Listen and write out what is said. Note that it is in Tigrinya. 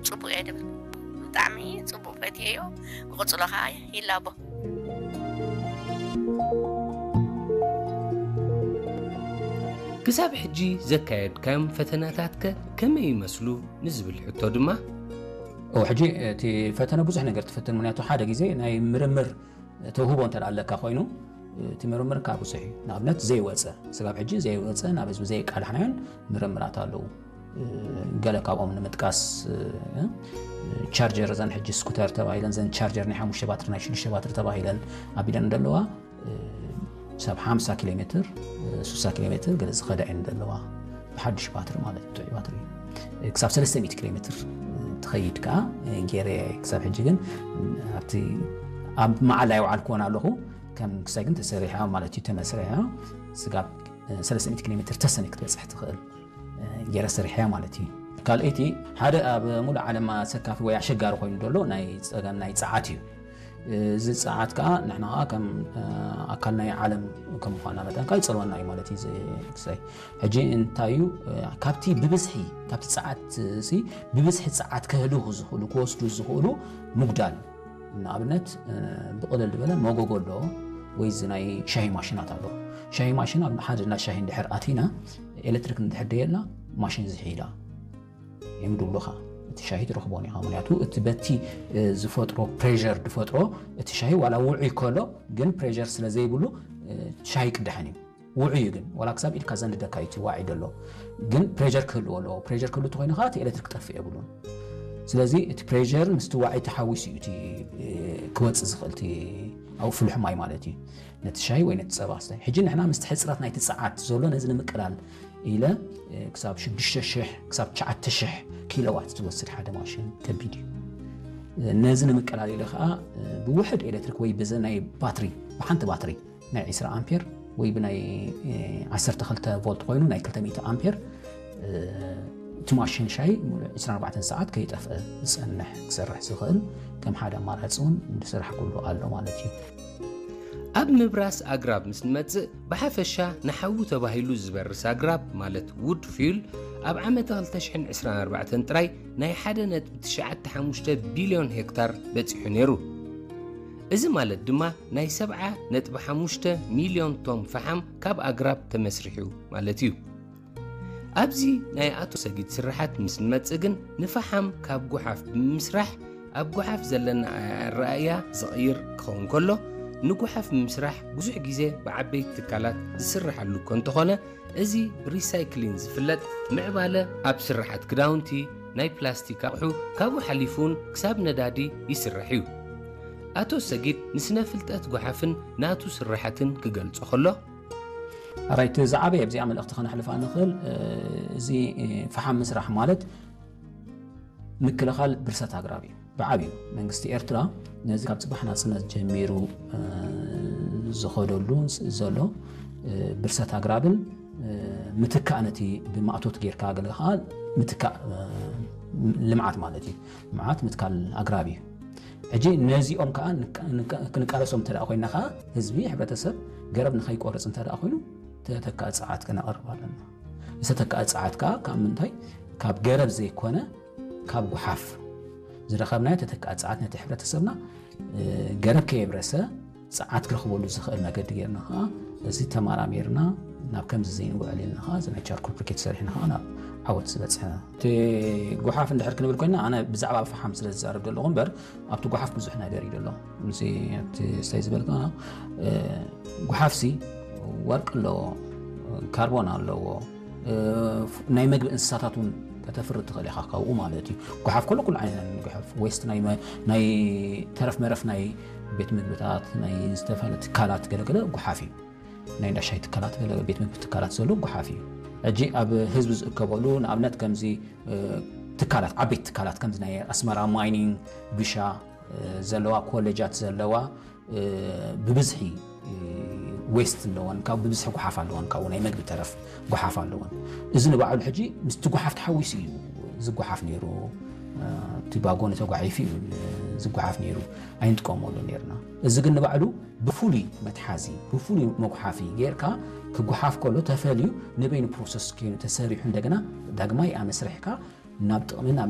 ጽቡቕ እየ ድብል። ብጣዕሚ ጽቡቕ ፈትየዮ። ክቕጽሎ ኸዓ ይላቦ። ክሳብ ሕጂ ዘካየድካዮም ፈተናታትከ ከመይ ይመስሉ ንዝብል ሕቶ ድማ፣ ሕጂ እቲ ፈተነ ብዙሕ ነገር ትፍትን። ምክንያቱ ሓደ ግዜ ናይ ምርምር ተውህቦ እንተ ኣለካ ኮይኑ እቲ ምርምር ካብ ብዙሕ እዩ። ንኣብነት ዘይወፀ ስጋብ ሕጂ ዘይወፀ ናብ ህዝቢ ዘይቃላሕናዮን ምርምራት ኣለዉ። ገለ ካብኦም ንምጥቃስ ቻርጀር፣ እዘን ሕጂ ስኩተር ተባሂለን፣ ዘን ቻርጀር ናይ ሓሙሽተ ባትሪ ናይ ሽዱሽተ ባትሪ ተባሂለን ኣቢለን እንደለዋ፣ ሰብ ሓምሳ ኪሎ ሜትር፣ ስሳ ኪሎ ሜትር ገለ ዝኸዳ እየን ዘለዋ። ብሓድሽ ባትሪ ማለት እዩ፣ ጥዑይ ባትሪ። ክሳብ ሰለስተ ሚእቲ ኪሎ ሜትር ትኸይድ ከዓ ገይረ። ክሳብ ሕጂ ግን ኣብቲ ኣብ መዓላ ይውዓልክዎን ኣለኹ። ከም ክሳይ ግን ተሰሪሓ ማለት እዩ፣ ተመስሪሓ ስጋብ ሰለስተ ሚእቲ ኪሎ ሜትር ተሰነ ክትበፅሕ ትኽእል ገይረ ሰሪሐያ ማለት እዩ። ካልኣይቲ ሓደ ኣብ ሙሉእ ዓለም ኣሰካፊ ወይ ኣሸጋሪ ኮይኑ ዘሎ ናይ ፀገም ናይ ፀዓት እዩ። እዚ ፀዓት ከዓ ንሕና ከዓ ከም ኣካል ናይ ዓለም ከም ምኳና መጠን ከዓ ይፀልወና እዩ ማለት እዩ። ክሳይ ሕጂ እንታይ እዩ ካብቲ ብብዝሒ ካብቲ ፀዓት ሲ ብብዝሒ ፀዓት ከህልኹ ዝኽእሉ ክወስዱ ዝኽእሉ ምጉዳል ንኣብነት ብቕልል ዝበለ መጎጎ ኣሎ ወይ እዚ ናይ ሻሂ ማሽናት ኣሎ። ሻሂ ማሽን ኣብ ሓደ እንዳ ሻሂ እንድሕር ኣቲና ኤሌክትሪክ እንድሕር ደየላ ማሽን ዝሒ ኢላ እዮም ድብሉኻ። እቲ ሻሂ ትረኽቦን ኢኻ። ምክንያቱ እቲ በቲ ዝፈጥሮ ፕሬር ዝፈጥሮ እቲ ሻሂ ዋላ ውዑይ ከሎ ግን ፕሬር ስለ ዘይብሉ ሻሂ ቅዳሕን እዩ። ውዑይ እዩ ግን ዋላ ክሳብ ኢድካ ዘንድደካ እዩ እቲ ዋዒ ዘሎ ግን ፕሬር ክህልዎ ኣለዎ። ፕሬር ክህሉ ተኮይኑ ከዓ እቲ ኤሌክትሪክ ክጠፍእ የብሉን። ስለዚ እቲ ፕሬር ምስቲ ዋዒ ተሓዊሱ እዩ እቲ ክወፅእ ዝኽእል እቲ ኣብኡ ፍሉሕ ማይ ማለት እዩ ነቲ ሻሂ ወይ ነቲ ፀባ ስታይ። ሕጂ ንሕና ምስቲ ሕፅረት ናይቲ ፀዓት ዘሎ ነዚ ንምቅላል ኢለ ክሳብ ሽዱሽተ ሽሕ ክሳብ ትሽዓተ ሽሕ ኪሎዋት ትወስድ ሓደ ማሽን ከቢድ እዩ። ነዚ ንምቅላል ኢለ ከዓ ብውሕድ ኤሌክትሪክ ወይ ብዚ ናይ ባትሪ ብሓንቲ ባትሪ ናይ ዒስራ ኣምፔር ወይ ብናይ ዓሰርተ ክልተ ቮልት ኮይኑ ናይ ክልተ ሚእቲ ኣምፔር እቲ ማሽን ሻሂ ሙሉእ ዒስራን ኣርባዕተን ሰዓት ከይጠፍአ ዝፀንሕ ክሰርሕ ዝኽእል ከም ሓደ ኣማራፂ እውን ዝስራሕ ኩሉ ኣሎ ማለት እዩ። ኣብ ምብራስ ኣግራብ ምስ ንመጽእ ብሓፈሻ ንሓዊ ተባሂሉ ዝበርስ ኣግራብ ማለት ውድ ፊዩል ኣብ ዓመተ ክልተ ሽሕን ዕስራን ኣርባዕተን ጥራይ ናይ ሓደ ነጥቢ ትሽዓተ ሓሙሽተ ቢልዮን ሄክታር በጺሑ ነይሩ። እዚ ማለት ድማ ናይ ሰብዓ ነጥቢ ሓሙሽተ ሚልዮን ቶን ፈሓም ካብ ኣግራብ ተመስሪሑ ማለት እዩ። ኣብዚ ናይ ኣቶ ሰጊድ ስርሓት ምስ ንመጽእ ግን ንፈሓም ካብ ጓሓፍ ብምስራሕ ኣብ ጓሓፍ ዘለና ኣረኣእያ ዝቕይር ክኸውን ከሎ ንጓሓፍ ብምስራሕ ብዙሕ ግዜ ብዓበይቲ ትካላት ዝስርሓሉ እኮ እንተኾነ እዚ ብሪሳይክሊን ዝፍለጥ ምዕባለ ኣብ ስርሓት ክዳውንቲ፣ ናይ ፕላስቲክ ኣቑሑ ካብኡ ሓሊፉ እውን ክሳብ ነዳዲ ይስራሕ እዩ። ኣቶ ሰጊድ ንስነ ፍልጠት ጓሓፍን ናቱ ስርሓትን ክገልጾ ከሎ፣ ኣራይቲ ዝዓበየ ኣብዚኣ መልእኽቲ ከነሕልፋ ንኽእል እዚ ፈሓም ምስራሕ ማለት ምክልኻል ብርሰት ኣግራብ እዩ። ብዓብዩ መንግስቲ ኤርትራ ነዚ ካብ ፅባሕ ናፅነት ጀሚሩ ዝኸደሉ ዘሎ ብርሰት ኣግራብን ምትካእ ነቲ ብማእቶት ጌርካ ገለ ከዓ ምትካእ ልምዓት ማለት እዩ። ልምዓት ምትካል ኣግራብ እዩ። ሕጂ ነዚኦም ከዓ ክንቃለሶም እንተ ኮይና ከዓ ህዝቢ ሕብረተሰብ ገረብ ንኸይቆርፅ እንተ ኮይኑ ተተካእ ፀዓት ክነቕርብ ኣለና። ዝተተካእ ፀዓት ከዓ ካብ ምንታይ? ካብ ገረብ ዘይኮነ ካብ ጉሓፍ ዝረኸብናዮ ተተካእ ፀዓት ነቲ ሕብረተሰብና ገረብ ከየብረሰ ፀዓት ክረኽበሉ ዝኽእል መገዲ ጌርና ከዓ እዚ ተመራሚርና ናብ ከምዚ ዘይንውዕል ኢልና ከዓ እዚ ናይ ቻርኮል ብሪኬት ሰሪሕና ከዓ ናብ ዓወት ዝበፅሐ። እቲ ጉሓፍ እንድሕር ክንብል ኮይና ኣነ ብዛዕባ ፈሓም ስለ ዝዛረብ ዘለኹ እምበር ኣብቲ ጉሓፍ ብዙሕ ነገር እዩ ዘሎ። እዚ ኣብቲ ስታይ ዝበልካ ጉሓፍሲ ወርቂ ኣለዎ፣ ካርቦን ኣለዎ፣ ናይ መግቢ እንስሳታት እውን ከተፍሪ ትኽእል ኢኻ ካብኡ ማለት እዩ። ጉሓፍ ከሎ ኩሉ ዓይነት ጉሓፍ ዌስት ናይ ተረፍ መረፍ ናይ ቤት ምግብታት ናይ ዝተፈላለዩ ትካላት ገለገለ ጉሓፍ እዩ። ናይ እንዳሻይ ትካላት ገለ ቤት ምግቢ ትካላት ዘሎ ጉሓፍ እዩ። ሕጂ ኣብ ህዝቢ ዝእከበሉ ንኣብነት ከምዚ ትካላት ዓበይቲ ትካላት ከምዚ ናይ ኣስመራ ማይኒንግ፣ ብሻ ዘለዋ ኮሌጃት ዘለዋ ብብዝሒ ዌስት ኣለወን፣ ካብ ብብዝሒ ጉሓፍ ኣለወን፣ ካብኡ ናይ መግቢ ተረፍ ጉሓፍ ኣለወን። እዚ ንባዕሉ ሕጂ ምስቲ ጉሓፍ ተሓዊሱ እዩ ዝጉሓፍ ነይሩ። እቲ ባጎ ተጓሒፉ እዩ ዝጉሓፍ ነይሩ፣ ኣይንጥቀመሉ ነይርና። እዚ ግን ንባዕሉ ብፍሉይ መትሓዚ ብፍሉይ መጉሓፊ ጌርካ ክጉሓፍ ከሎ ተፈልዩ ንበይኑ ፕሮሰስ ኮይኑ ተሰሪሑ እንደገና ዳግማይ ኣመስሪሕካ ናብ ጥቕሚ ናብ